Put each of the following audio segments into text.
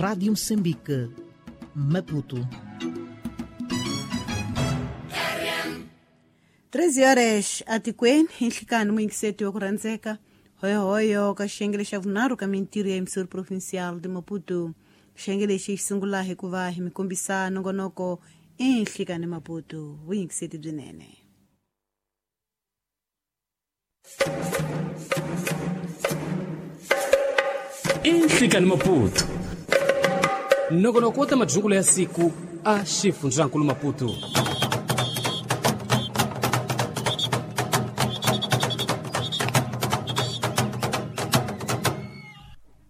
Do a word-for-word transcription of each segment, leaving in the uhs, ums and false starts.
Rádio Moçambique, Maputo. treze horas atikweni enhlikani muyingiseti wa ku rhandzeka hoyohoyo ka xiyenge xa vunharhu ka mintirho ya Emissora Provincial de Maputo. Xiyenge lexi xi sungula hi ku va hi mi kombisa nongonoko enhlikani Maputo. Vuyingiseti byinene. Enhlikani Maputo, nongonoko wa ta madyukulo ya siku a xifundzankulu Maputo.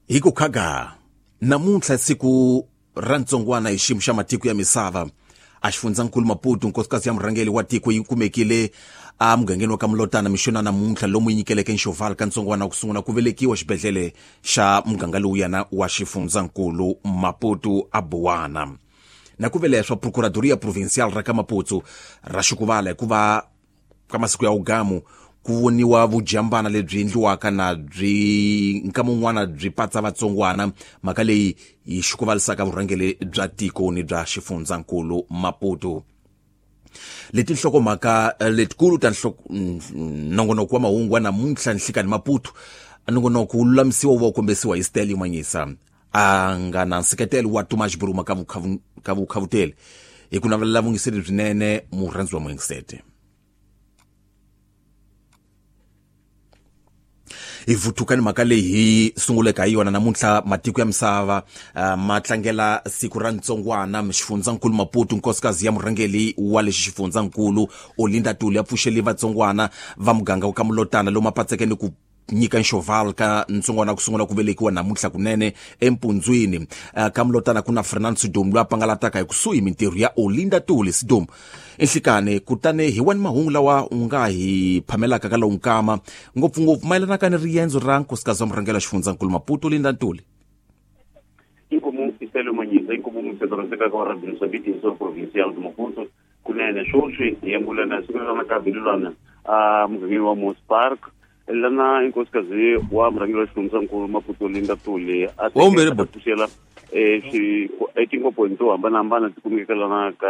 Hi ku khaga namuntlha siku ra ntsongwana hi xiyimo xa matiko ya misava a xifundzankulu Maputo nkosikazi ya murhangeri wa tiko yi kumekile a mugangeni wa ka Mulotana mixona namuntlha lomu yi nyikeleke nxovala ka ntsongwana ku sungula ku velekiwa xibedhlele xa muganga lowuyana wa xifundzankulu Maputo a Buwana. Na ku veleswa Procuradoria Provincial ra ka Maputo ra xikuvala hikuva ka masiku ya ugamu ku voniwa vujambana lebyi endliwaka na byi nkama un'wana byi patsa vatsongwana, mhaka leyi yi xikuvalisaka vurhangeri bya tiko ni bya xifundzankulu Maputo. Leti nhlokomhaka letikulu ta nongonoko wa mahungu wa namuntlha nhlikani Maputo, nongonoko wu lulamisiwa wu va wu kombisiwa hi Steli Manyisa a nga na nseketelo wa Tomas Buruma ka ka vukhavuteli hi ku navelela vungiseri byinene murhandzi wa muyingiseti. Hi vutuka ni mhaka leyi hi sunguleka hi yona namuntlha matiko ya misava uh, ma tlangela siku ra ntsongwana xifundzankulu Maputo. Nkosikazi ya murhangeri wa lexi xifundzankulu Olinda Tuli ya pfuxeli vatsongwana va muganga wa ka Mulotana lomu a ni ku nyika nxoval ka ntsongwana ku sungula ku velekiwa namuntlha kunene empundzwini. Uh, ka Mulotana ku na Fernando Sidom loyi a pangalataka hi kusuhi mintirho ya Olinda Tuli Sidom enhlikani. Kutani hi wani mahungu lawa u nga hi phamelaka ka lowu nkama ngopfungopfu mayelanaka ni riendzo ra nkosikazi wa murhangeri wa xifundzankulu Maputo Olinda Ntuli. Inkomu Iselo Manyisa, inkomu msetoroseka ka Radio Moçambique Emissora Provincial de Maputo kunene swoswi hi yembulana siku ra makabilulana a mugangeni wa Mos Park lana inkosikazi wa murhangeri wa xifundzankulu Maputo Olinda Tuli a pfuxela etinkomponi to hambanahambana ti kumekaka lana ka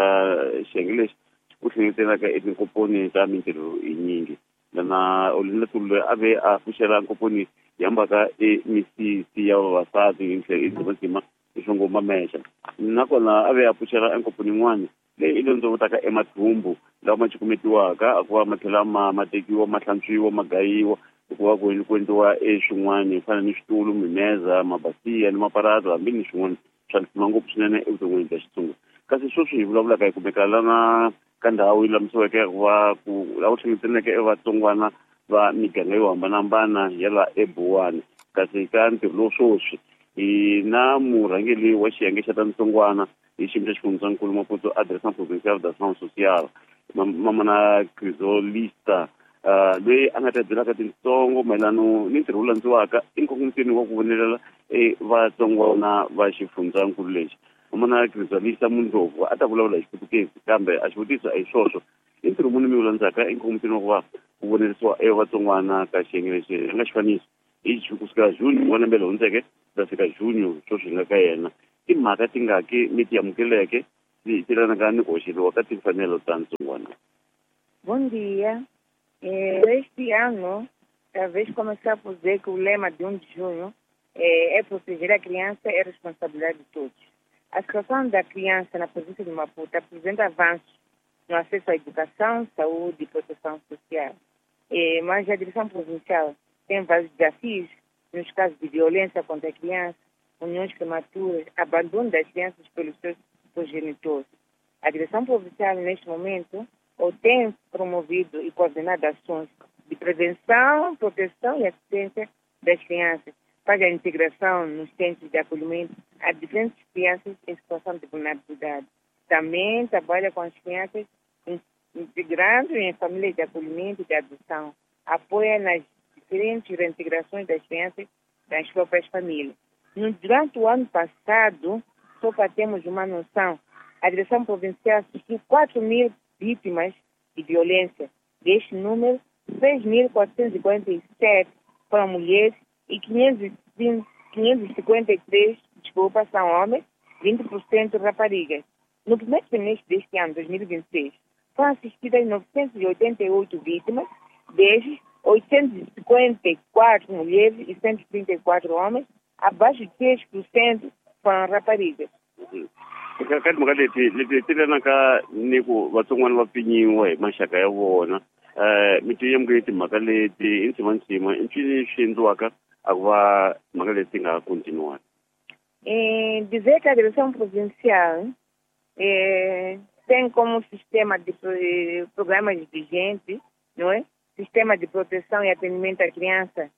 xiyenge lexi ku hlengetelaka etinkomponi ta mintirho yinyingi. Lana Olinda Tuli a ve a pfuxela nkomponi yi hambaka emisisi ya vavasati hi ndzima hi mamexa, nakona a ve a pfuxela enkomponi yin'wana leyi i londzovotaka emathumbu lawa ma cukumetiwaka a ku va ma tlhela ma ma tekiwa ma hlantswiwa ma gayiwa hikuva ku ku endliwa eswin'wana ku fana ni switulu, mimeza, mabasiya ni maparato hambi ni swin'wana swa ntima ngopfu swinene evuton'wini bya Xitsonga. Kasi sweswi hi vulavulaka hi kumeka lana ka ndhawu yi lulamisiweke ku va ku laha ku hlengetelaneke evatsongwana va miganga yo hambanahambana ya la eBuwana. Kasi ka ntirho lowu sweswi hi na murhangeri wa xiyenge xa ta ntsongwana hi xiyimo xa xifundzankulu Maputo Direcção Provincial da Ação Social mamana Crisolista loyi a nga ta byelaka tintsongo mayelano ni ntirho wu landziwaka enkongomisweni wa ku vonelela vatsongwana va xifundzankulu lexi. Mamana Crisolista Mundlovu a ta vulavula hi Xiputukezi kambe a xivutiso a hi swoswo i ntirho muni mi wu landzaka enkongomisweni wa ku va ku vonerisiwa evatsongwana ka xiyenge lexi a nga xifaniso hi kusuka June wa lembe leri hundzeke ku ta fika Junho sweswi hi nga ka yena. Timhaka tingaki mi ti amukeleke ti tirhanaka ni ku hoxeliwa ka timfanelo ta ntsongwana. Bom dia. Este ano, talvez começar por dizer que o lema de um de junho é, é proteger a criança, é responsabilidade de todos. A situação da criança na província de Maputo apresenta avanços no acesso à educação, saúde e proteção social. É, mas a direção provincial tem vários desafios nos casos de violência contra a criança, uniões prematuras, abandono das crianças pelos seus progenitores. A direção provincial, neste momento, ou tem promovido e coordenado ações de prevenção, proteção e assistência das crianças, faz a integração nos centros de acolhimento a diferentes crianças em situação de vulnerabilidade. Também trabalha com as crianças integrando em famílias de acolhimento e de adoção. Apoia nas diferentes reintegrações das crianças das próprias famílias. No, durante o ano passado, só para termos uma noção, a direção provincial assistiu quatro mil vítimas de violência. Deste número, seis mil quatrocentos e quarenta e sete foram mulheres e quinhentos e cinquenta e três desculpa, são homens, vinte por cento raparigas. No primeiro trimestre deste ano, dois mil e vinte e seis, foram assistidas novecentas e oitenta e oito vítimas, destes, oitocentas e cinquenta e quatro mulheres e cento e trinta e quatro homens, abaixo de três por cento foram raparigas. Ka timhaka leti leti ti lenaka ni ku vatsongwana va pfinyiwa hi maxaka ya vona um mi ti yemukele timhaka leti i ntsimantsima i ncini swi endliwaka a ku va timhaka leti ti nga continuwani? Eh, dizer que a direção provincial eh, tem como sistema de programas vigentes, não é? Sistema de proteção e atendimento à criança.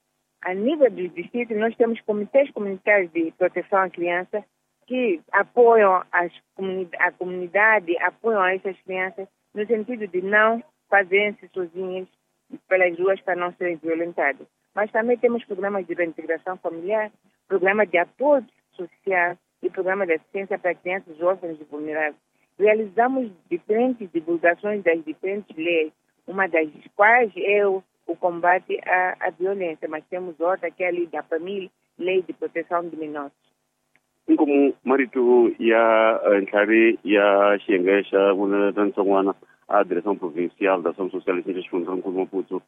A nível dos distritos, nós temos comitês comunitários de proteção à criança que apoiam as comuni- a comunidade, apoiam essas crianças no sentido de não fazerem-se sozinhas pelas ruas para não serem violentadas. Mas também temos programas de reintegração familiar, programas de apoio social e programa de assistência para crianças órfãs e vulneráveis. Realizamos diferentes divulgações das diferentes leis, uma das quais é o, o combate à, à violência, mas temos outra que é a lei da família, lei de proteção de menores. Inkomu marito ya ntlhari ya xiyenge xa vunene ntsongwana a direção provincial da ação social xa xifundzankulu Maputo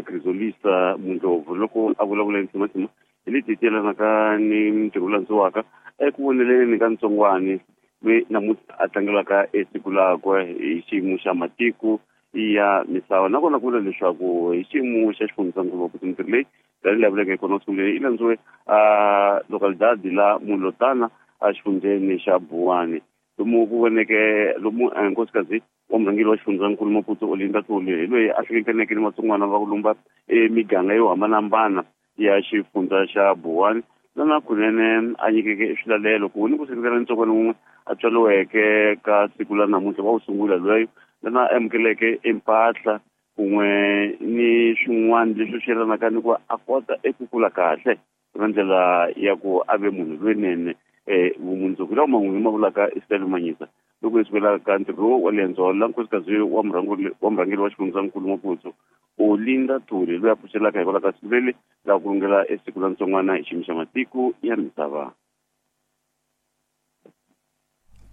Crisolista Mundlovu loko a vulavula ntsimantsima hi leti ti yelanaka ni mintirho landziwaka eku voneleni ka ntsongwani loyi namuntlha a tlangelaka esiku lakwe hi xiyimo xa matiko ya misava nakona ku vula leswaku hi xiyimo xa xifundzankulu Maputo mintirho leyi tanihi leyi vuleke kona sunguleni yi landziwe a localidade la Mulotana a xifundzeni xa Buwani lomu ku voneke lomu nkosikazi wa murhangeri wa xifundzankulu Maputo Olinda Tloli hi loyi a hlengetaneke ni vatsongwana va ku lumba emiganga yo hambanahambana ya xifundza xa Buwani lana kunene a nyikeke swilalelo ku ni ku seketela ntsongwana wun'we a tswariweke ka siku la namuntlha wa wu sungula loyi lana amukeleke empahla kun'we ni swin'wana leswi swi yelanaka ni ku a kota eku kula kahle na ndlela ya ku a ve munhu lowunene um vumundzuku lawa man'we ma vulaka Isabel Manyisa loko hi sukela ka ntirho wa lendzo la nkosikazi wa murhangeri wa murhangeri wa xifundzankulu Maputo Olinda Tloli loyi a pfuxelaka hikwalaho ka siku leri la ku rungela esiku la ntsongwana hi xiyimo xa matiko ya misava.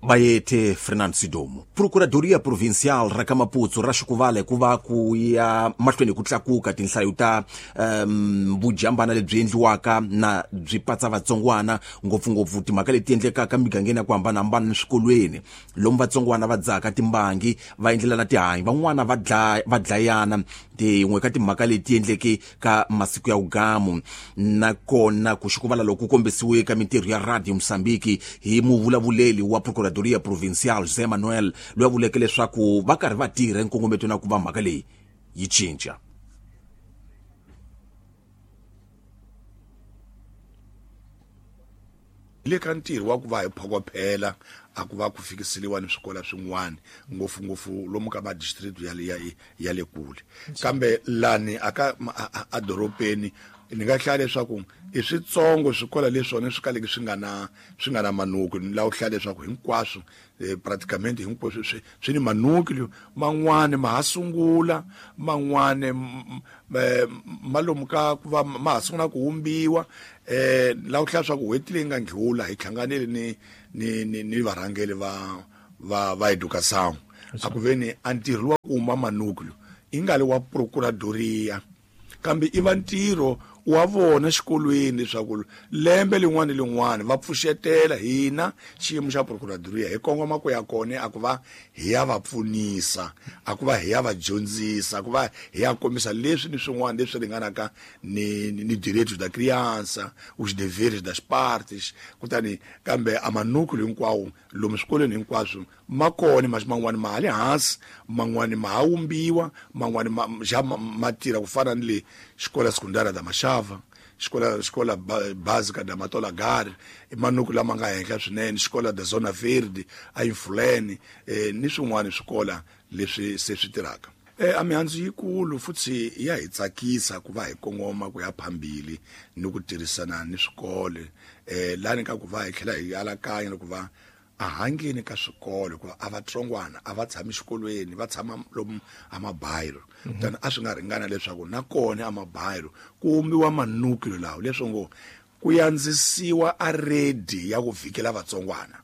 Bayete Fernando Sidomo. Procuradoria Provincial ra ka Maputo ra Xikuvale ku va ku ya mahlweni ku tlakuka tinhlayo ta um, vujambana lebyi endliwaka na byi patsa vatsongwana ngopfungopfu timhaka leti endlekaka migangeni ya ku hambanahambana ni swikolweni lomu vatsongwana va dzaka timbangi va endlelana tihanyi van'wana va dlaya va dlayana tin'we ka timhaka leti endleke ka masiku ya ugamu nakona ku Xikuvala loko ku kombisiwe ka mintirho ya Radio Mozambique hi muvulavuleli wa Procuradoria Provincial José Manuel loyi a vuleke leswaku va karhi va tirha nkongometo na ku va mhaka leyi yi cinca. Le ka ntirho wa ku va hi phokophela a ku va ku fikiseliwa ni swikolo swin'wana ngopfungopfu lomu ka ma district ya le ya le kule kambe lani aka a dorobeni ni nga hlaya leswaku i switsongo swikolo leswona swi kaleke swi nga na swi nga na manuku ni la u hlaya leswaku hinkwaswo praticamente hinkwaswo swi swi ni manuku man'wani ma ha sungula man'wani malomu ka ku va ma ha sungula ku humbiwa eh la u hlaya swa ku n'hweti leyi nga ndlula hi hlanganile ni ni ni ni varhangeri va va va educação a ku veni a ntirho wa ku huma manuku i nga le wa procuradoria kambe i va ntirho wa vona xikolweni leswaku lembe lin'wana lin'wana va pfuxetela hina xiyimo xa procuradoria hi kongoma ku ya kona a ku va hi ya va pfunisa a ku va hi ya va dyondzisa a ku va hi ya kombisa leswi ni swin'wana leswi ringanaka ni ni direitos da criança os deveres das partes kutani kambe a manúcleo hinkwawo lomu swikolweni hinkwaswo ma kona mas man'wani ma ha le hansi man'wani ma ha wumbiwa man'wani ma ja ma tirha ku fana ni le xikola sekundara da Machava xikola xikola básica da Matola Gare manuku lama nga henhla swinene xikola da Zona Verde a Infulene eh, ni swin'wana swikola leswi se swi tirhaka eh, a mihandzu yikulu futhi ya hi tsakisa ku va hi kongoma ku ya phambili ni ku tirhisana ni swikolo eh, lani ka ku va hi tlhela hi alakanya ku va a hangeni ka swikolo hikuva a vatsongwana a va tshami xikolweni va tshama lomu a mabayiro kutani a swi nga ringana leswaku na kona a mabayiro ku humbiwa manukilo lawo leswo ngo ku yandzisiwa a redi ya ku vikela vatsongwana.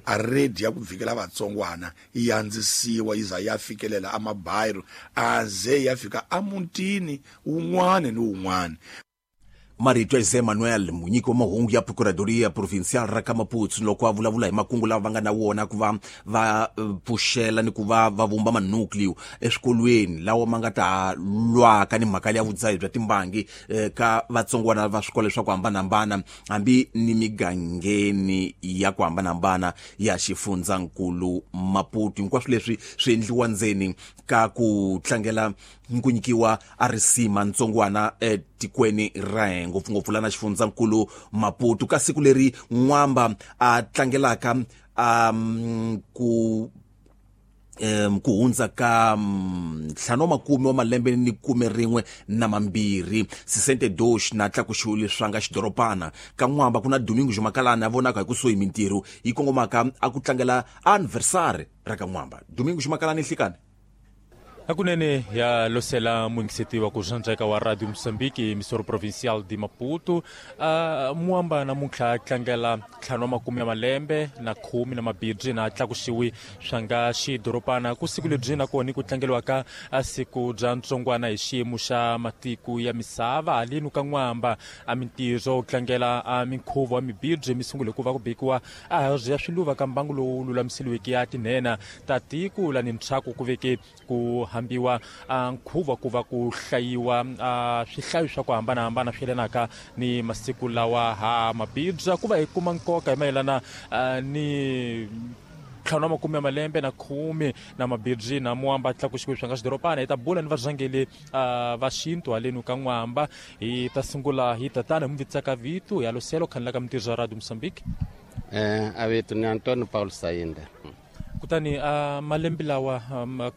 A redi ya ku vikela vatsongwana yi yandzisiwa yi za ya fikelela a mabayiro a ze ya fika a mutini wun'wana ni wun'wana. Marito ya José Manuel munyiki wa mahungu ya Procuradoria Provincial ra ka Maputo loko a vulavula hi makungu lava va nga na wona ku va va pfuxela ni ku va va vumba manucleo eswikolweni lawa ma nga ta lwaka ni mhaka ya vudzahi bya timbangi ka vatsongwana va swikolo swa ku hambanahambana hambi ni migangeni ya ku hambanahambana ya xifundzankulu Maputo. Hinkwaswo leswi swi endliwa ndzeni ka ku tlangela ku nyikiwa a risima ntsongwana etikweni ra hina ngopfungopfu lana xifundzankulu Maputo ka siku leri N'wamba a tlangelaka um ku um ku hundza ka ntlhanu wa makume wa malembe ni khume rin'we na mambirhi sesenta e dois na tlakuxiwe leswi nga xidoropana ka N'wamba ku na Domingo Jumakalana a vonaka hi kusuhi mintirho yi kongomaka a ku tlangela anniversary ra ka N'wamba. Domingo Jumakalana nhlikani Hakunene ya losela muingiseti wa kujanjeka wa Radio Moçambique, emissora provincial de Maputo. Uh, Muamba namuntlha tlangela ntlhanu wa makume ya malembe na khume na mabirhi na tlakuxiwi swa nga xidoropana ku siku lebyi nakona ku tlangeliwaka a siku bya ntsongwana hi xiyimo xa matiko ya misava haleni ka N'wamba a mintirho tlangela a minkhuvo wa mibirhi mi sungule ku va ku bekiwa a ya swiluva ka mbangu lowu lulamiseliweke ya tinhena ta tiko lani ntshaku ku veke ku hambiwa nkhuvo ku va ku hlayiwa swihlayo swa ku hambanahambana swi yelanaka ni masiku lawa ha mabibya ku va hi kuma nkoka hi mayelana ni ntlhanu wa makume ya malembe na khume na mabirhi na Muamba tlakuxiwe swa nga xidoropana. Hi ta bula ni varhangeli va xintu haleni ka N'wamba. Hi ta sungula hi tatana hi muvitsaka vito ya Loselo khanela ka mintirho ya Radio Moçambique. Eh a vito ni Antonio Paulo Sainda. Kutani a malembe lawa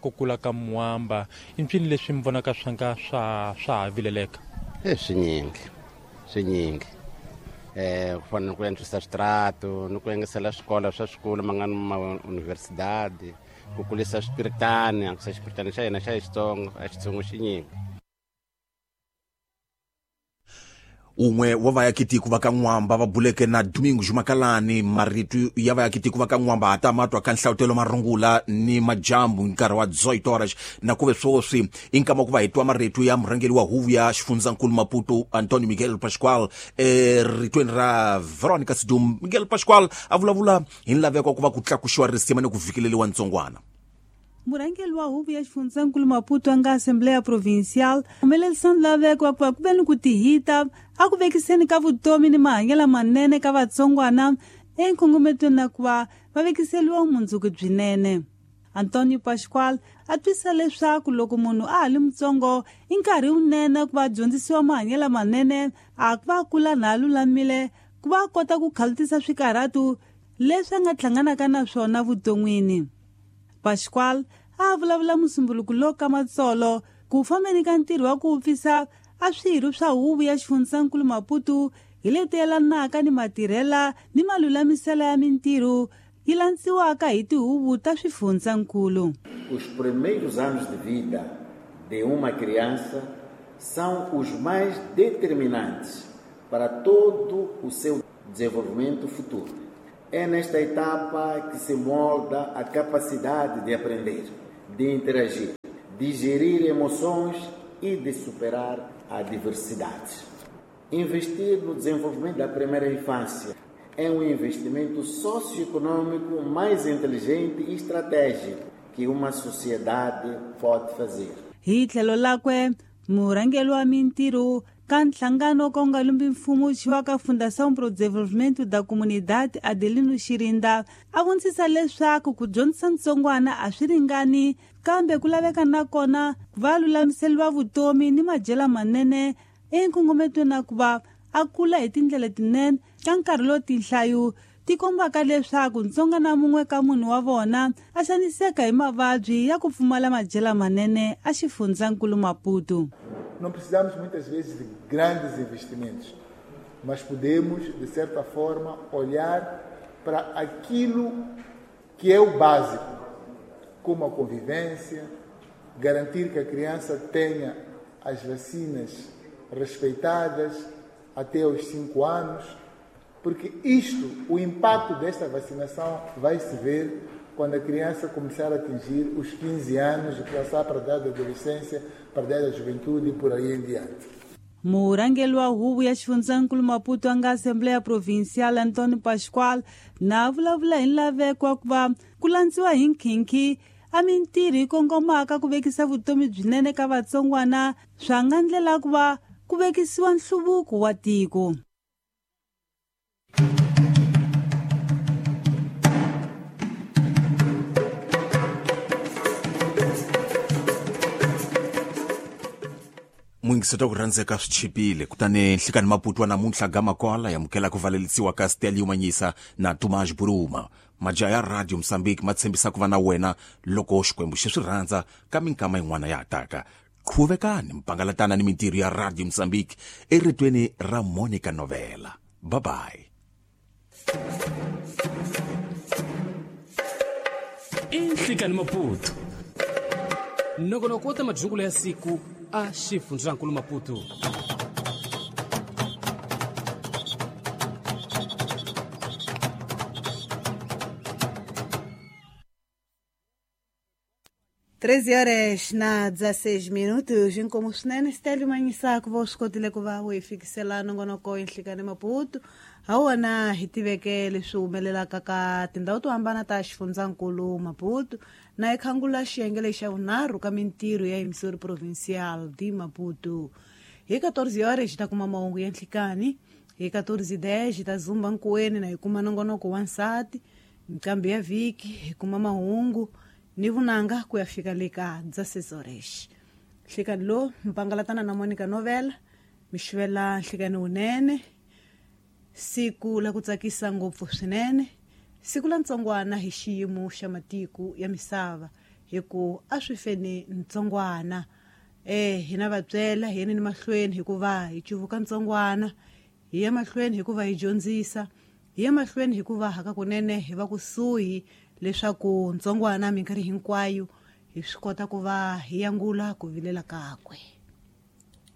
ku kula ka Muamba i mpfini leswi mi vonaka swa nga swa swa ha vileleka? E swinyingi swinyingi eh ku fana ni ku antswisa switrato ni ku engesela swikolo swa swikolo ma nga ni ma universidade ku kulisa swipiritani antswisa xipiritani xa hina xa Xitsonga a Xitsongo xinyingi. Un'we wa vayakitiko va ka N'wamba va buleke na Domingo Jumakalani marito ya vayakitiko va ka N'wamba ta matwa ka nhlawutelo marungula ni majambu nkarhi wa dezoito horas na kuve swoswi i nkama ku va hi twa marito ya murhangeri wa huvo ya xifundzankulu Maputo Antonio Miguel Pascual eritweni ra Veronica Sidum. Miguel Pascual a vulavula hi nlaveko ku va ku tlakuxiwa risima ni ku fikeleriwa ntsongwana. Murhangeri wa huvo ya xifundzankulu Maputo a nga Assembleia Provincial humelerisa nlaveko wa ku va ku ve ni ku tihita a ku vekiseni ka vutomi ni mahanyelo manene ka vatsongwana enkongometweni na ku va va vekiseliwa vumundzuku byinene. Antonio Pascual a twisisa leswaku loko munhu a ha li mutsongo i nkarhi wunene ku va dyondzisiwa mahanyelo manene a ku va kula na a lulamile ku va a kota ku khalutisa swikarhatu leswi a nga hlanganaka na swona vuton'wini. Pascual a vulavula musumbuluko lowu ka Matsolo ku fambeni ka ntirho wa ku pfisa a swirho swa huvo ya xifundzankulu Maputo hi leti yelanaka ni matirhela ni malulamisela ya mintirho yi landziwaka hi tihuvo ta swifundzankulu. Os primeiros anos de vida de uma criança são os mais determinantes para todo o seu desenvolvimento futuro. É nesta etapa que se molda a capacidade de aprender, de interagir, de gerir emoções e de superar adversidades. Investir no desenvolvimento da primeira infância é um investimento socioeconômico mais inteligente e estratégico que uma sociedade pode fazer. Hi tlhelo lakwe murhangeri wa mintirho ka nhlangano ka nga lumbi mfumo wa ka Fundação pro Desenvolvimento da Comunidade Adelino Xirinda a vonisa leswaku ku dyondzisa ntsongwana a swi ringani kambe ku laveka nakona va lulamiseriwa vutomi ni madyelo manene enkongometweni na ku va a kula hi tindlela tinene ka nkarhi lowu tinhlayo ti kombaka leswaku ntsongwana mun'we ka munhu wa vona a xaniseka hi mavabyi ya ku pfumala madyelo manene a xifundzankulu Maputo. Não precisamos muitas vezes de grandes investimentos, mas podemos, de certa forma, olhar para aquilo que é o básico, como a convivência, garantir que a criança tenha as vacinas respeitadas, até os cinco anos, porque isto, o impacto desta vacinação vai se ver quando a criança começar a atingir os quinze anos e passar para a idade da adolescência, para a idade da juventude e por aí em diante. Murangeli wa huvo ya xifundzankulu Maputo a nga Assembleia Provincial Antônio Pascoal na vulavula hi nlaveko wa ku va ku landziwa hi nkhinkhi a mintirho yi kongomaka ku vekisa vutomi byinene ka vatsongwana swa nga ndlela ku va ku vekisiwa nhluvuko wa tiko. Muyingiseti wa ku rhandzeka swi chipile kutani nhlikani Maputo wa namuntlha gama kwala yamukela ku valelisiwa ka Stelio Manyisa na Tomás Buruma. Majaha ya Radio Mozambique ma tshembisa ku va na wena loko Xikwembu xi swi rhandza ka minkama yin'wana ya hataka. Qhuvekani mpangalatana ni mintirho ya Radio Mozambique eritweni ra Monica Novela. Bye bye. Nhlikani Maputo nongonoko wa ta madyungula ya siku a xifundzankulu Maputo. treze horas na dezesseis minutos, inkomu swinene Stelio Manyisa ku va u swi kotile ku va u hi fikisela nongonoko Nhlikani Maputo. Ha wona hi tiveke leswi humelelaka ka tindhawu to hambana ta xifundzankulu Maputo na hi khangula xiyenge lexa vunharhu ka mintirho ya Emissora Provincial de Maputo. Hi quatorze horas hi ta kuma mahungu ya nhlikani, hi quatorze e dez hi ta zumba nkuweni na hi kuma nongonoko wa nsati, nqambi ya vhiki hi kuma mahungu ni vunanga ku ya fika le ka dezesseis horas. Nhlikani lo mpangalatana na Monica Novela mi xivela nhlikani wunene, siku la ku tsakisa ngopfu swinene, siku la ntsongwana hi xiyimo xa matiko ya misava, hi ku a swi feni ntsongwana. Eh hina vabyela hi yeni ni mahlweni hikuva hi cuvuka ntsongwana, hi ya mahlweni hikuva hi dyondzisa, hi ya mahlweni hikuva hakakunene hi va kusuhi leswaku ntsongwana minkarhi hinkwayo hi swi kota ku va hi yangula ku vilela kakwe.